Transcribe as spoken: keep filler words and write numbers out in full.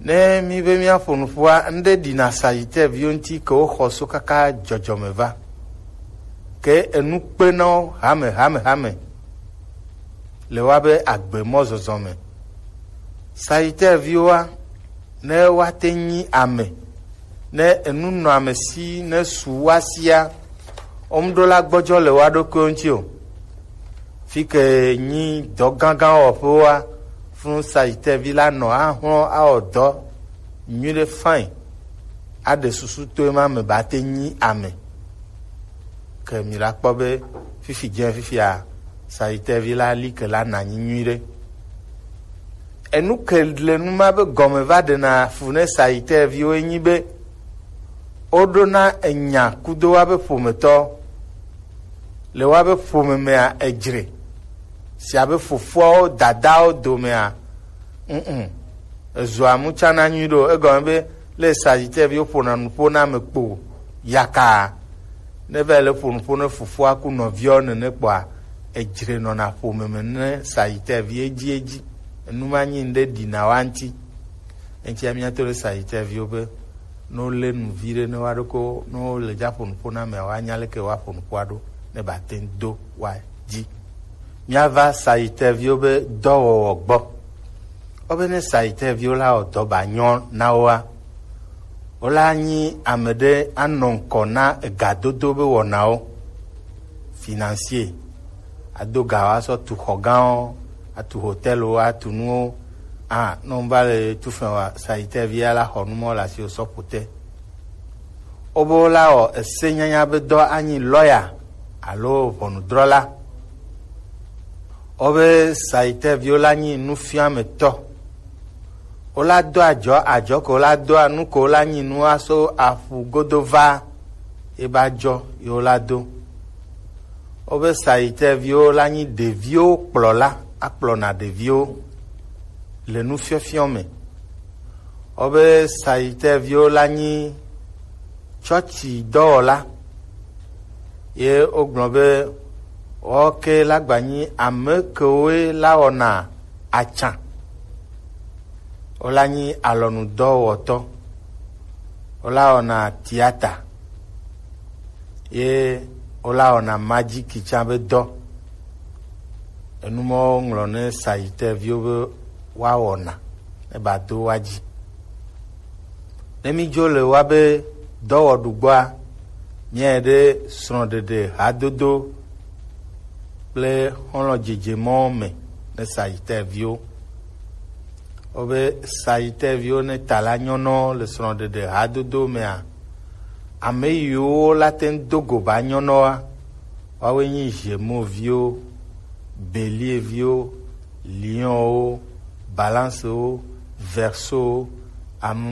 Ne mi be miaƒo nuƒoa, ŋɖe ɖi na Sagittaire viwo ŋuti ke woxɔ so kaka dzɔdzɔme va. Ke enu kpe na wo hame, hame, hame le woabe agbe mɔzɔzɔ me. Sagittaire viwoa, ne woate nyi ame, ne enu nɔ ame si, ne su woa sia, wo ŋɖo la gbɔdzɔ le woa ɖokuiwo ŋuti o. Fi ke nyi dɔ gãgã wɔƒewoa, funu Sagittaire vi la nɔ ahlɔ awɔ dɔ nyuiɖe fine, aɖe susu to ema me ba te nyi ame. Ke mi la kpɔ be fifi dze fifia, Sagittaire vi la li ke la na nyi nyuiɖe. Enu ke le nu ma be gɔme va ɖena fu ne Sagittaire viwo enyi be woɖona enya kudo woabe ƒometɔ. Le woabe ƒome mea, edzre. Si abe fofoawo, dadawo domea, mm, ezua mutsana nyui ɖo. Egɔme be le Sagittaire viwo ƒona nuƒo na ame kpo yaka. Ne va le ƒo nuƒo ne fofoa ku nɔviawo nene kpɔa, edzre nɔna ƒome me ne Sagittaire vi edzi edzi. Enu ma nyi ŋɖe ɖina wa ŋuti. Eŋutia míato ɖe Sagittaire viwo be, ne wolé nu vi ɖe ne woaɖo ko, ne wole dza ƒo nuƒo na amea, woanya leke woaƒo nuƒoa ɖo ne ba te ŋu do woadzi. Míava Sagittaire viwo be dɔwɔwɔ gbɔ. Wobe ne Sagittaire viwo la wɔ dɔ ba nyɔ na woa, wola nyi ame ɖe anɔ ŋkɔ na egadodo be wɔnawo, financier. Ado ga woasɔ tu xɔ gãwo, atu hotɛlwo, atu nuwo. A, ne wova le tu fɛn wa, Sagittaire vi ya la xɔ nu mɔ le asiwò sɔ ƒo te. Wobe wola wɔ ese nyanya be dɔ anyi lɔya alo ʋɔnudrɔla. Wobe Sagittaire viwo la nyi nufiametɔ. Wola do adzɔ, adzɔ ko wola doa, nu ko wola nyi nua so aƒu godo va, ye ba dzɔ ye wola do. Wobe Sagittaire viwo la nyi ɖeviwo kplɔla, akplɔna ɖeviwo le nufiɔfiɔ me. Wobe Sagittaire viwo la nyi tsɔtsi dɔwɔla. Ye wogblɔ be woawo ke la gba nyi ame kewoe la wɔna atsa. Wola nyi alɔnudɔwɔtɔ. Wola wɔna tiata. Ye wola wɔna majiki tsã be dɔ. Enu mawo ŋlɔ ne Sagittaire viwo be woawɔna ne ba do woa dzi. Ne mídzo le woa be dɔwɔɖu gbɔa, míae ɖe srɔ̃ɖeɖe hadodo kple xɔlɔ̃ dzedze mɔwo me ne Sagittaire viwo. Wobe Sagittaire viwo ne ta la nyɔnɔ le srɔ̃ɖeɖe hadodo mea, ame yiwo la te ŋu do go ba nyɔnɔa, woawoe nyi Gémeaux viwo, Bélier viwo, Lion wo, Balance wo, Verseau wo, ame